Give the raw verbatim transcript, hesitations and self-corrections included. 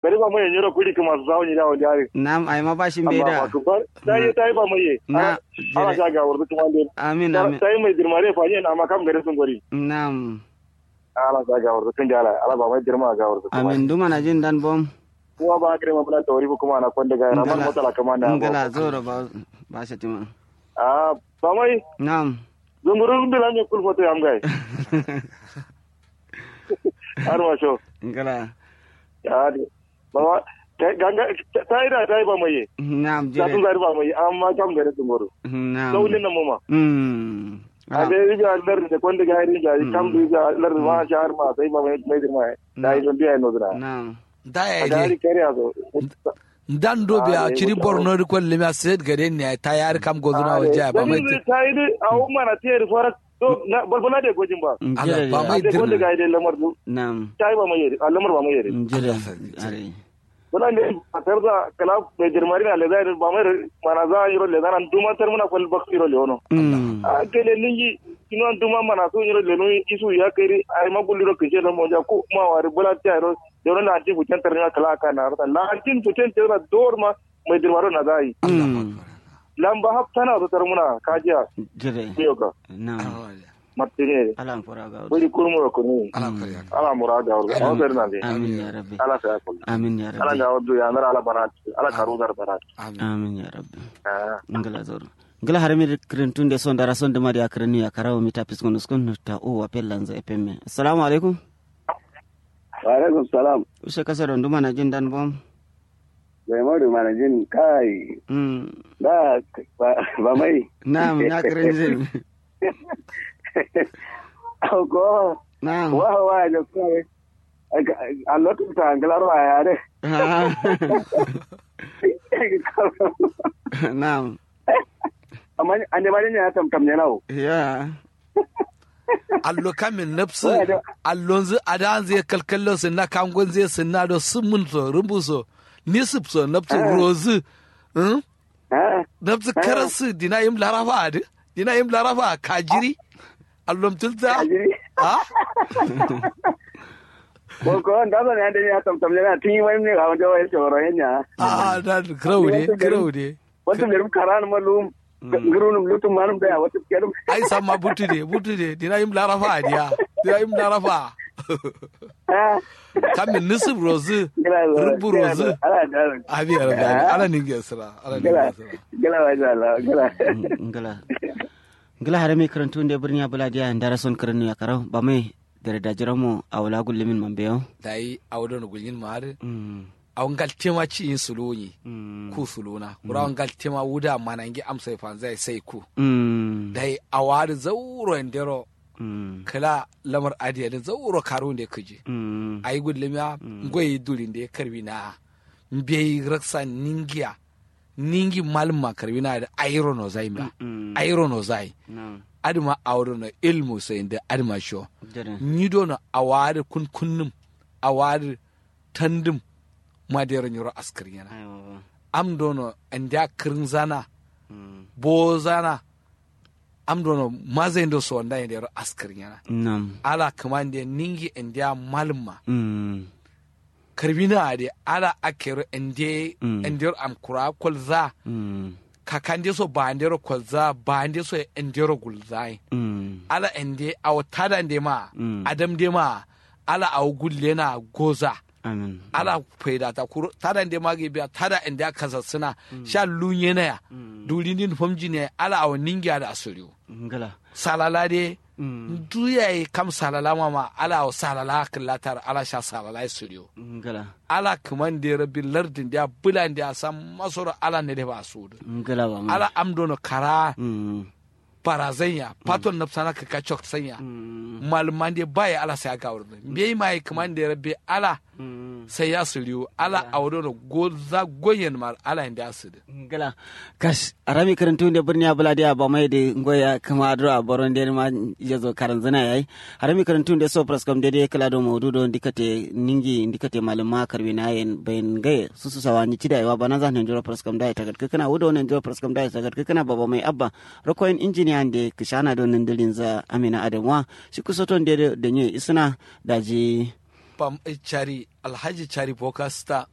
Gari ba mai nyiro kudi kuma su zawo ni dawo jari. Nam ai ma ba shi mbe da. Tayi tayi ba mai ye. Na. Ala sha ga wurdu kuma de. Amin amin. Tayi mai dirmare fa ne na ma kam gare sun gori. Nam. Ala sha ga wurdu kun jala ala ba mai dirma ga wurdu. Amin duma na jin dan bom. Kuma ba kare ma bula tawari kuma na kwanda ga ramar motala kuma na. Ngala zoro ba ba shi tima. Ah ba mai. Nam. Zungurun bila ne kulfoto yam gai. Har ma sho. Ngala. Ya de. Baba, ganga, ta yi da ta yi ba mai ye. Na'am jire. Tun zari ba mai amma kam gare tun goro. Na'am. Saulin nan mama. Mm. A da yi ga lar da kwanda ga yi ga kam da ga lar ma shahar ma sai ba mai mai girma. Da yi don biya no zira. Na'am. Da ya yi dai. Kare a zo. Dan do biya ciri borno ri kwalli mi a state gare ne ta yari kam gozuna wajiya ba mai. Ta yi dai a umma na tiyar farak. To na balbala de gojin ba. Ala ba mai dirna. Wanda ga ide lamar du. Na'am. Tai ba mai yere a lamar ba mai yere. Jira. Are. Bala ne a tarza kala be dirmari na leza ba mai mana za yiro leza nan duma tar muna kwal bak yiro leono. Mm. A kele ningi kino duma mana so yiro leno isu ya kere ai ma guliro kije da monja ko ma wari bala ta yiro yiro na antin fucen tar na kala ka na rata na antin fucen tar na dor ma mai dirmaro na zai. Mm. Lamba hap tana so tar muna kajiya. Jire. Yoka. Na'am. Martine. Ala mura ga wuri. Buri kurmu da kunu. Ala mura ga wuri. Ala mura ga wuri. Amin ya rabbi. Ala sa yakul. Amin ya rabbi. Ala ga wuri ya nar ala barat. Ala karu dar barat. Amin ya rabbi. Ngala zoro. Ngala harami kirin tun de son dara son dama de akirin ya karawo mita piskon uskon ta o wa pellanza epemme. Assalamu alaikum. Wa alaikum salam. Ushe kasa don duma na jin dan bom. Bai madu mana jin kai. Mm. Da ba mai. Na'am na kirin jin. Ko. Na'am. Wa wa da kai. A lokacin ta angalar wa ya dai. Na'am. Amma an da ma ne ya tamtam ne nawo. Ya. Allo kamin nabsu. Allonzu adanzu ye kalkallo sinna kangonzu ye sinna do summun so rumbu so nisip so nabsu rozu. Nabsu karasu dina yim larafa adi dina yim larafa kajiri. Allom tulta. Kajiri. Ah. Ko ko ndazo ne ande ne tamtam ne na tin wai ne ga wanda wai toro henya. Ah da kraude kraude. Wata lerum karan malum. Ngurunum lutum manum da wata kerum. Ai samma butude butude dina yim larafa diya dina yim larafa. Kamin nisib rozu. Rubu rozu. Abi ya rabbi ala ninge sira ala ninge sira. Gala wa jala gala. Ngala. Ngala harami karantu nde birniya bula diya ndara son karanu ya karau ba mai dare da jiramo awala gullumin mambeyo. Dai awdo no gullumin ma'adu. Awo ngaltema ci yin suluwunyi. Ku suluwuna kura awo ngaltema wuda manangi amsai fanzai sai ku. Dai awo adǝ zauro yendero. Kǝla lamar adǝ yedǝ zauro karuwunde kǝji. Ayi gullumiya ngoi dulinde karwina. Mbeyi raksa ningiya. Ningi malǝmma karwina adǝ ayiro nozai mba. Ayiro nozai. Adǝma awo dono ilmu so yende adǝma sho. Nyi dono awo adǝ kun kunnǝm. Awo adǝ tandǝm. Madero nyiro askǝrnyena. Am dono andeya kǝrǝnzana. Bozana. Am dono mazaindo so wanda yendero askǝrnyena. Ala kǝmande ningi andeya malǝmma. Karwina adǝ ala akkero ande. Andero am kura kolza. Kakande so baandero kolza baande so andero gulzayin. Ala ande awo tadande ma. Adamde ma. Ala awo gullena goza. Ala faidata kuro tada nde magi biya tada nde a kasassǝna. Sha lunyenaya. Dulindin famjinaya ala awo ningiya da asuriwo. Salala de. Ndu yayi kam salala mama ala awo salala kǝllatar ala sha salala ye suriwo. Ala kǝman de rabbi lardin de a bǝlan de a samma soro ala nade fa sudu. Ala am dono kara. Barazanya faton nabsana kǝkka coksanya. Malǝmande baye ala sai agawurdǝ mbeyi maye kǝmande rabbe ala. Sai ya sǝriwu ala awo dono goza goyen ma ala yende asǝdǝ. Ngla. Kash arami kǝrǝntuwunde bǝrniya bǝladiya bamaidǝ ngoya kǝma adǝro aboronde ma. Yezo karanzǝna yayi. Arami kǝrǝntuwunde so fǝraskam dede kǝla do maudu do ndikate ningi ndikate malǝmma karwinayen bayin ngaye susu sawa nyi cida yewa bananza nandiro fǝraskam daye tagadkǝkkǝna wudo nandiro fǝraskam daye tagadkǝkkǝna baba mai abba. Rokoyin injiniya nde kǝshana do nǝndǝlinza amina adamwa. Shi kusoto nde do danyo isǝna. Daji Cari alhaji cari bokasta.